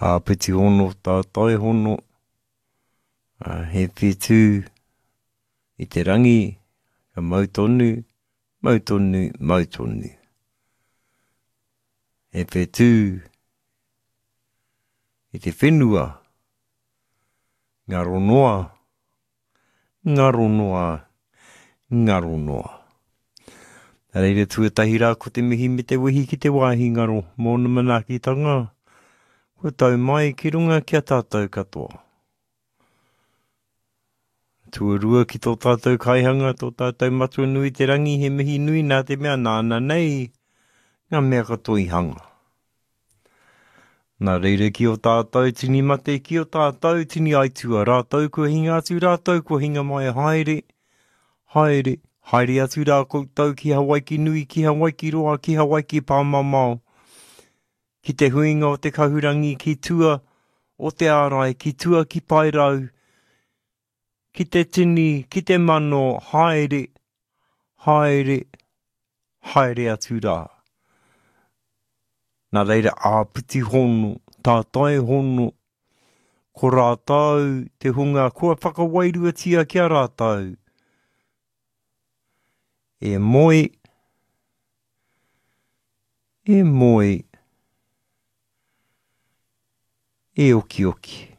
Āpiti hono, tātai hono, he whetū i te rangi, ka mau tonu, mau tonu, mau tonu. He whetū i te whenua, ngaro noa, Ngaro noa, ngaro noa. Nā reira tuatahi rā ko te mihi me te wehi ki te wāhi ngaro mōna manaakitanga kua tau mai ki runga ki a tātou katoa. Tuarua ki tō tātou kaihanga, tō tātou matua nui te rangi he mihi nui nā te mea nāna nei ngā mea katoa i hanga. Nā reira ki o tātou tini mate, ki o tātou tini aitua, rātou kua hinga atu, rātou kua hinga mai, haere, haere, haere atu rā koutou ki Hawaiki nui, ki Hawaiki roa, ki Hawaiki pāmamao, ki te huinga o te kahurangi, ki tua o te ārai, ki tua ki Paerau, ki te tini, ki te mano, haere, haere, haere atu rā. Nā reira, āpiti hono, tātai hono, ko rātou te hunga kua whakawairuatia ki a rātou, e moe, e moe, e okioki.